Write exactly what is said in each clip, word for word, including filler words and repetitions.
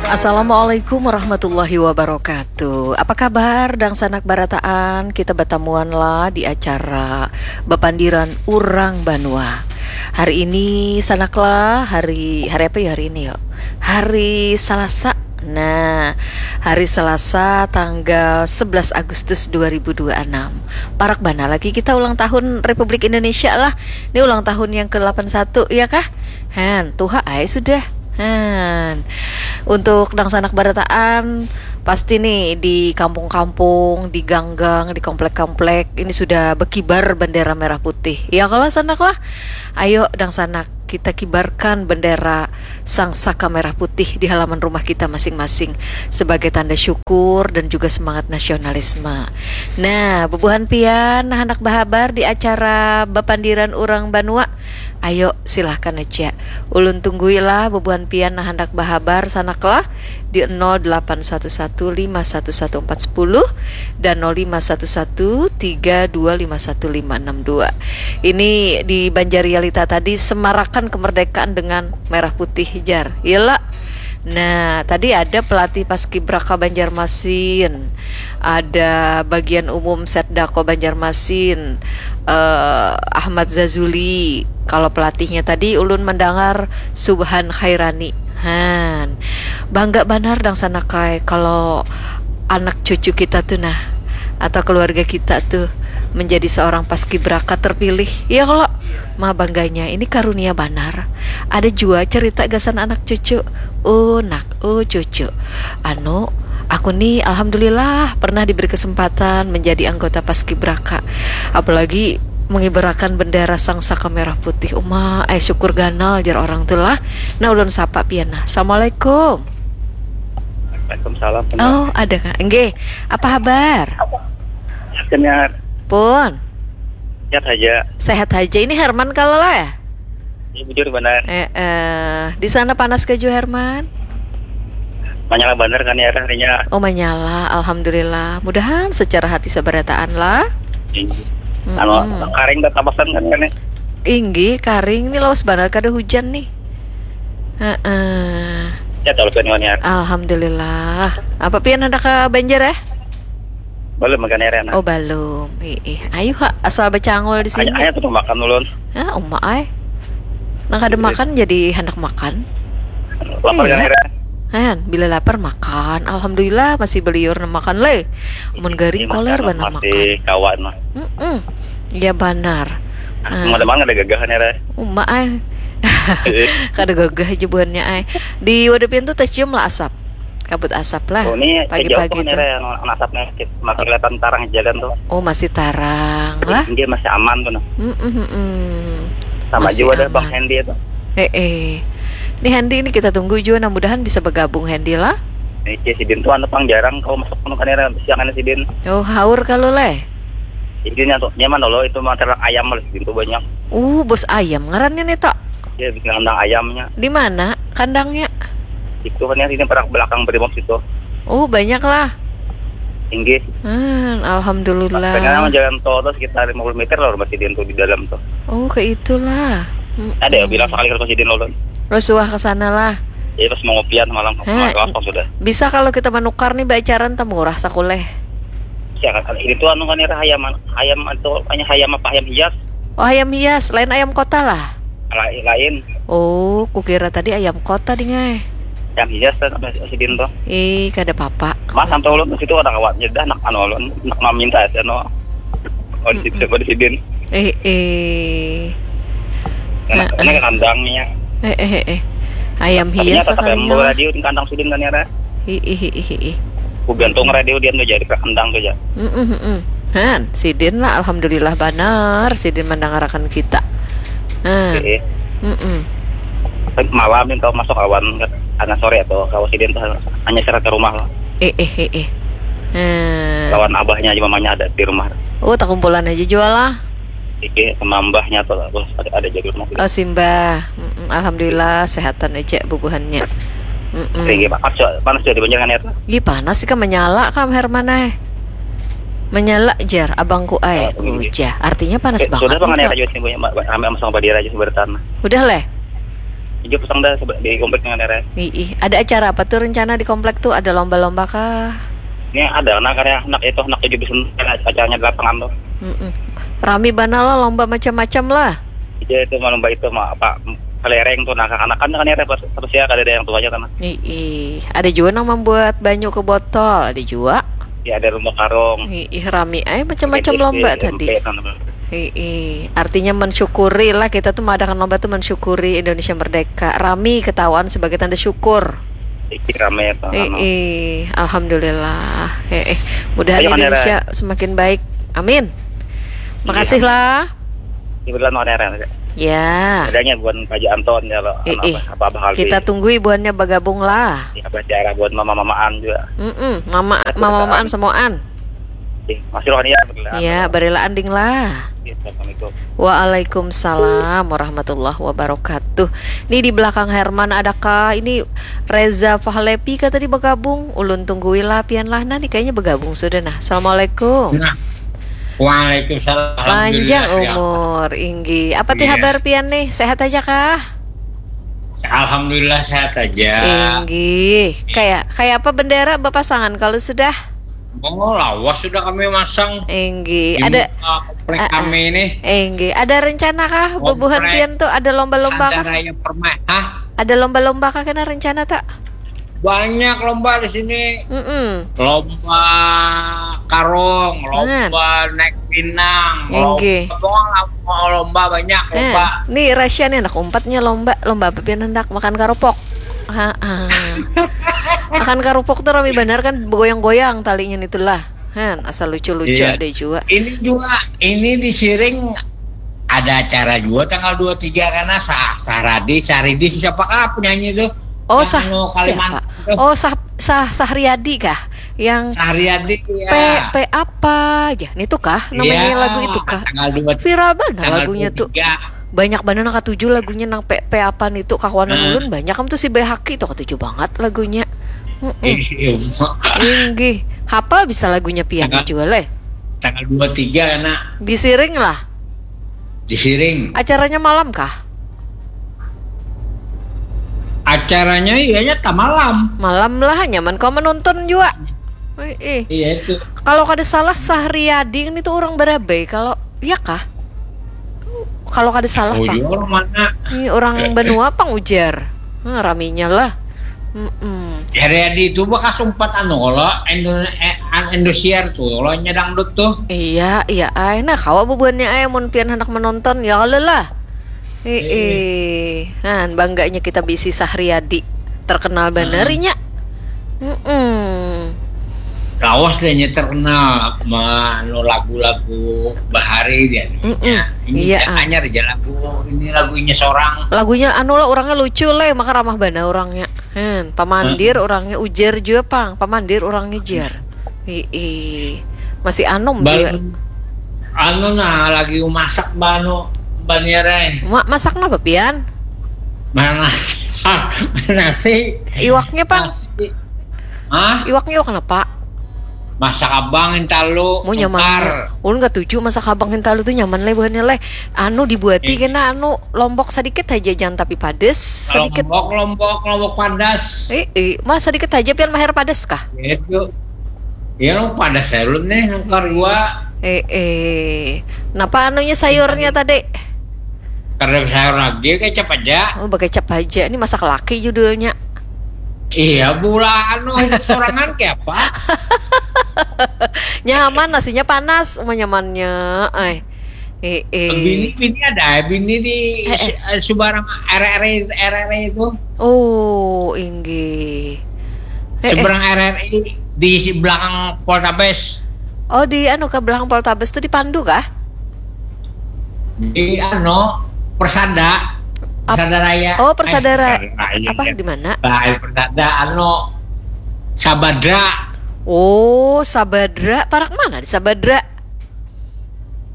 Assalamualaikum warahmatullahi wabarakatuh. Apa kabar dangsanak barataan? Kita batamuan lah di acara Bapandiran Urang Banua. Hari ini sanak lah, hari hari apa ya hari ini yo? Hari Salasa. Nah, hari Salasa tanggal sebelas Agustus dua ribu dua puluh enam. Parak bana lagi kita ulang tahun Republik Indonesia lah. Ini ulang tahun yang ke delapan satu ya kah? Han, tuha ai sudah. Han. Untuk dangsanak barataan, pasti nih di kampung-kampung, di gang-gang, di komplek-komplek ini sudah bekibar bendera merah putih. Ya kalau sanak lah. Ayo dangsanak kita kibarkan bendera sang saka merah putih di halaman rumah kita masing-masing sebagai tanda syukur dan juga semangat nasionalisme. Nah, bubuhan pian nah handak bahabar di acara Bapandiran Urang Banua. Ayo, silahkan aja. Ulun tungguilah bubuhan pian nah handak bahabar sanaklah di nol delapan satu satu lima satu satu empat sepuluh dan nol lima satu satu tiga dua lima satu lima enam dua. Ini di Banjar Realita tadi semarakan kemerdekaan dengan merah putih jar. Iyalah. Nah, tadi ada pelatih Paskibraka Banjarmasin, ada bagian umum Setdako Banjarmasin, eh, Ahmad Zazuli. Kalau pelatihnya tadi ulun mendengar Subhan Khairani. Han, bangga banar dangsanakai kalau anak cucu kita tuh nah atau keluarga kita tuh menjadi seorang paskibraka terpilih. Iya kalau ma bangganya ini karunia banar. Ada jua cerita gasan anak cucu. Uh nak, uh cucu. Anu, aku nih alhamdulillah pernah diberi kesempatan menjadi anggota paskibraka. Apalagi mengibarakan bendera sang saka merah putih. Uma, eh syukur ganal jar orang tuh lah. Nah ulun sapa pian nah. Assalamualaikum. Waalaikumsalam. Oh, ada kak. Nggih, apa habar? Senyar. Pun. Sehat aja. Sehat aja. Ini Herman kalau lah ya? Ini bujur benar. Eh, eh, di sana panas ke jua Herman? Manyala benar kan ya harinya. Oh manyala, alhamdulillah. Mudahan secara hati seberataan lah. Anu karing tak tapasan kan kan ya. Inggi, karing ini lawas benar kada hujan nih. Heeh. Ya tahu kan ya. Alhamdulillah. Apa pian hendak ke Banjar ya? Belum makan ya Rena. Oh belum. Ih, ayo ha, asal becangol di sini. Hanya tuh makan ulun. Ah, uma ai. Nang kada makan jadi hendak makan. Lapar kan Rena? Han, bila lapar makan. Alhamdulillah masih beliur nang makan le. Mun garing koler banar makan. Kawan mah. Mm-mm. Iya banar. Mau ada mana ada gagahan ya Rena? Uma ai. Kada gagah aja buhannya ai. Di wadah pintu tercium lah asap. Kabut asap lah. Oh, ini pagi-pagi tuh. Yang asapnya masih kelihatan tarang jalan tuh. Oh, masih tarang lah. Dia masih aman tuh. Nah. Mm -mm. Sama juga ada Bang Hendy itu. Eh, eh. Ini Hendy ini kita tunggu juga, nah mudahan bisa bergabung Hendy lah. Ini si Din tuh anu pang jarang kalau masuk penuh kan siangan si Din. Oh, haur kalau leh. Intinya tuh nyaman loh itu masalah ayam loh si Din tuh banyak. Uh, bos ayam ngarannya nih tak. Dia bikin kandang ayamnya. Di mana kandangnya? Itu kan yang sini parak belakang Brimob situ. Oh, banyak lah. Tinggi. Hmm, alhamdulillah. Karena jalan tol tuh sekitar lima puluh meter lah rumah si Din tuh di dalam tuh. Oh, ke itulah. Ada ya bilang sekali kalau si Din ulun. Rasulullah ke sana lah. Jadi pas mau ngopian malam Hah, malam apa sudah. Bisa kalau kita menukar nih bacaran temurah sakuleh. Ya kan itu anu kan ya ayam ayam atau hanya ayam apa ayam hias. Oh, ayam hias, lain ayam kota lah. Lain lain. Oh, kukira tadi ayam kota dingai. Ayam hias kan si Din tuh. Eh, kada apa-apa. Mas sampai ulun ke situ ada kawan nyedah nak anu ulun nak meminta ya no. Oh, di situ di sidin. Eh, eh. Karena kandangnya. Eh, eh, eh. Ayam hias Ternyata sekali sampai bawa radio di kandang sidin kan ya Ra. Ih, ih, ih, ih. Ku gantung radio dia tuh jadi ke kandang tuh ya. Mm-mm, mm-mm. Han, sidin lah alhamdulillah banar sidin mendengarakan kita. Han. Eh, Mm-mm. Tapi malam yang kau masuk awan karena sore atau kau sidin tuh hanya serat ke rumah lah. Eh, eh, eh, eh. Hmm. Lawan abahnya aja mamanya ada di rumah. Oh, tak kumpulan aja jual lah. Iki sama mbahnya tuh lah, terus ada, ada jadi rumah. Oh, simbah. Mm-mm, alhamdulillah sehatan aja bubuhannya. Mm-mm. Tinggi panas juga, panas juga di Banjar kan ya tuh. Ih, panas sih kan menyala kam Herman eh. Menyala jar abangku ai. Oh, iya. Ujah. Artinya panas Eh, banget sudah bang nih, ada Tok. Rajo sih punya Mbak, Mbak, rame sama Mbak Dira aja sebentar. Udah leh. Ijo pusang dah sebe- di komplek dengan daerah. Ih, ih. Ada acara apa tuh rencana di komplek tuh? Ada lomba-lomba kah? Ini ada anak karya anak itu anak tujuh belas acaranya di lapangan tuh. Mm-mm. Rami bana lah lomba macam-macam lah. Iya itu mah lomba itu mah apa kelereng tuh nah kanakan kan ya terus ya kada ada yang tuanya kan. Ih, ih. Ada juga yang membuat banyu ke botol, ada juga. Ya ada lomba karung. Ih, ih, rami ay macam-macam lomba tadi. Ih, ih. Artinya mensyukuri lah kita tuh mengadakan lomba tuh mensyukuri Indonesia merdeka. Rami ketahuan sebagai tanda syukur. Iki rame ya Pak. Ih, ih. Alhamdulillah. Ih, ih. Mudahan Indonesia semakin baik. Amin. Makasih lah. Kebetulan mau ada. Ya. Adanya buat Pak Anton ya lo. Ih, ih. Apa apa hal. Kita tunggu ibuannya bergabung lah. Ya apa cara buat mama-mamaan juga. Mm-mm. Mama mama-mamaan semuaan. Masih rohani ya. Ya, barilaan ding lah. Assalamualaikum. Waalaikumsalam warahmatullahi wabarakatuh. Ini di belakang Herman adakah ini Reza Fahlepi kah tadi bergabung? Ulun tunggui lah pian lah. Nah, nih kayaknya bergabung sudah nah. Assalamualaikum. Nah. Waalaikumsalam. Panjang umur, inggi. Apa ti habar pian nih? Sehat aja kah? Alhamdulillah sehat aja. Inggi. Kayak kayak apa bendera bapasangan kalau sudah? Oh, lawas sudah kami masang. Inggi. Ada komplek uh, kami ini. Inggi. Ada rencana kah bubuhan pian tuh ada lomba-lomba kah? Raya permai. Hah? Ada lomba-lomba kah kena rencana tak? Banyak lomba di sini. Mm -mm. Lomba karung, lomba naik pinang, lomba, lomba banyak lomba. Eh, nih rahasia nih anak umpatnya lomba, lomba apa pian hendak makan karopok. Ha, ha. Makan karopok tuh rame benar kan begoyang-goyang talinya itulah. Han, asal lucu-lucu iya. Ada juga. Ini juga, ini di Siring ada acara juga tanggal dua tiga karena sah sah radi sah ridi siapa kah penyanyi itu oh sah anu, siapa oh sah sah sah riadi kah yang sah riadi ya. P P apa aja nih tuh kah namanya ya, lagu itu kah tanggal dua viral banget lagunya dua tiga. Tuh banyak banget nang katuju lagunya nang P P apa nih tuh kawan hmm. Ulun banyak kamu tuh si Behaki tuh katuju banget lagunya mm -mm. Inggih hapal bisa lagunya pian juga leh tanggal dua tiga anak disiring lah Disiring. Acaranya malam kah? Acaranya iyanya tak malam. Malam lah nyaman kau menonton juga. Eh, eh. Iya itu. Kalau kada salah Sahriadi ini tuh orang Barabai kalau iya kah? Kalau kada salah oh, iya, orang mana? Ini orang Banua pang ujar. Nah, raminya lah. Mm-mm. Heriadi itu bekas umpat anu kalau Indo eh, an- Indosiar tuh kalau nyedang dut tuh. Iya, iya ay. Nah, kawa bubuhannya ay mun pian hendak menonton ya kalau lah. Eh, eh. Nah, bangganya kita bisi Sahriadi. Terkenal banar inya. Mm-mm. Lawas deh nya terkenal anu lagu-lagu bahari dia. Mm-mm. Ini iya, ah. Anyar aja lagu ini lagunya seorang. Lagunya anu lah orangnya lucu lah maka ramah bana orangnya. Hen, pamandir hmm. Orangnya ujar juga pang, pamandir orangnya jar. Ii, masih anom Bal juga. Anu nah lagi masak banu baniarai. Ma masak apa pian? Mana nasi. Iwaknya pang. Nasi. Hah? Iwaknya iwak apa? Masak abang intalu. Mau nyaman. Ulun gak tuju masak abang intalu tuh nyaman leh buhannya leh. Anu dibuati eh. Kena anu lombok sedikit aja jangan tapi padas sedikit lombok lombok lombok padas eh, eh, mas sedikit aja pian mahir padas kah itu ya padas saya lu nih nangkar gua eh eh napa anunya sayurnya eh. Tadi karena sayur lagi kecap aja oh kecap aja ini masak laki judulnya iya bulan anu sorangan kayak apa nyaman nasinya panas nyamannya eh Eh, eh. Bini, bini ada, bini di eh, eh. Subarang R R I, R R I itu. Oh, inggih. Eh, seberang eh. R R I di belakang Poltabes. Oh, di anu ke belakang Poltabes itu di Pandu kah? Di anu Persada. Persada Raya. Oh, Persada eh, Raya. Apa ya. Di mana? Persada anu Sabadra. Oh, Sabadra. Parak mana di Sabadra?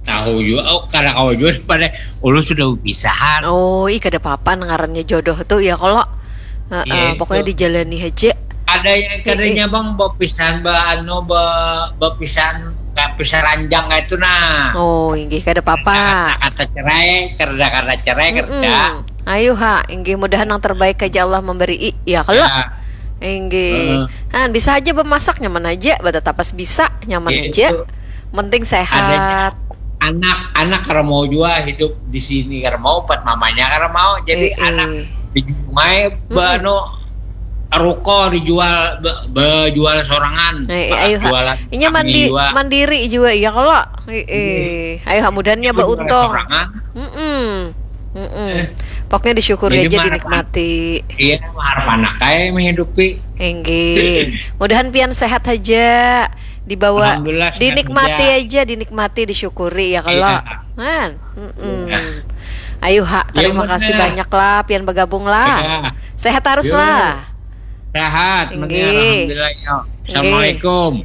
Tahu juga, oh, karena kau juga pada ulu sudah berpisahan. Oh, ih kada apa-apa ngarannya jodoh tuh ya kalau uh, uh, pokoknya dijalani aja. Ada yang katanya eh, eh. Bang berpisahan ba anu ba berpisahan berpisah ranjang kayak itu nah. Oh, inggih kada apa-apa. Kata, kata cerai, kerja kata cerai mm -mm. Kerja. Ayu ha, inggih, mudahan yang terbaik aja Allah memberi, ya kalo. Ya. Inggih. Uh. Han, bisa aja bemasak, nyaman aja, batatapas bisa, nyaman ya, aja. Itu. Penting sehat. Adanya. Anak-anak kada mau jua hidup di sini, kada mau, empat mamanya kada mau. Jadi eh, anak eh. Di sungai, mm-mm. Bano ruko dijual, be, bejual sorangan. Eh, eh, ayu ha. Jualan. Inya mandi, mandiri juga, ya kalo. Eh, eh. Ayu ha, mudahannya bauntung. Mm-mm. Mm-mm. Eh. Pokoknya disyukuri aja, dinikmati. Iya, harap anak kayak menghidupi. Inggih. Mudahan pian sehat aja, dibawa, dinikmati aja, dinikmati, disyukuri ya kalau. Iya. Han. Mm-mm. Iya. Ayu ha, terima kasih banyak lah, pian bergabung lah. Iya. Sehat harus lah. Sehat, alhamdulillah. Assalamualaikum.